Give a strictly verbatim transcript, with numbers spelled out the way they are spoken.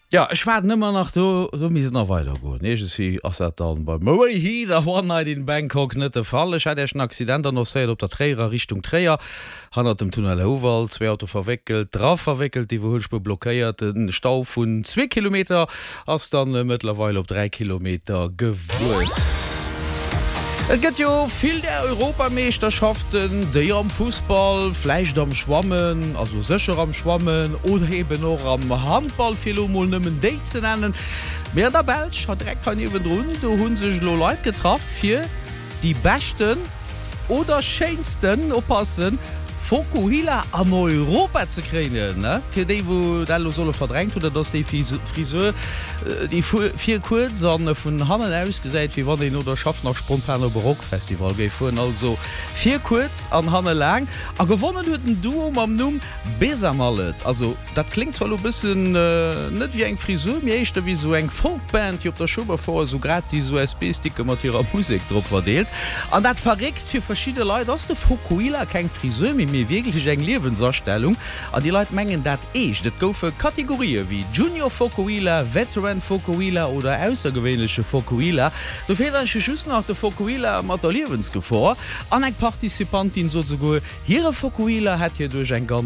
Ja, ech waarden ëmmer nach, do, do misst et nach weider goen. Iergendswéi ass dat dann bei Murray Heat a One Night in Bangkok net de Fall. Ech hat Iech en Accident annoncéiert op der Tréierer Richtung Tréier, hannert dem Tunnel Houwald. Zwee Auto verwéckelt, dra verwéckelt, d'Iwwerhuelspuer blockéiert. Den Stau vun zwee Kilometer ass dann mëttlerweil op dräi Kilometer gewuess. Et gëtt jo vill där Europameeschterschaften, déi am Fussball, vläicht am Schwammen, also sécher am Schwammen oder eben och am Handball, fir elo mol nëmmen déi ze nennen. Mee an der Belsch, hei direkt hei niewendrun, do hu sech elo Leit getraff, fir déi beschten oder schéinsten, oppassen, Fokuhila an Europa ze kréinen. Fir déi wou dat elo solle verdrängt hunn, dat ass déi Frisur déi vir kuerz an vun hannen ausgesäit wéi wann een no der Schaff nach spontan op e Rockfestival géif fueren. Also vir kuerz an hanne laang. A gewonnen huet en Duo mam Numm Besamallet. Also dat kléngt zwar elo bëssen net wéi eng Frisur, mee éischter wéi sou eng Folkband déi op der Schueberfouer sou gratis U S B-Sticke mat hirer Musek drop verdeelt. An dat Verréckst, fir verschidde Leit ass de Fokuhila keng Frisur méi, mee wierklech eng Liewensastellung. An déi Leit mengen dat eescht. Et goufe Kategorië wéi Junior Fokuhila, Veteran Fokuhila oder aussergewéinleche Fokuhila. Do feelt eigentlech just nach de Fokuhila mat der Liewensgefor. An eng Participantin sot souguer, hire Fokuhila hätt hir duerch eng ganz.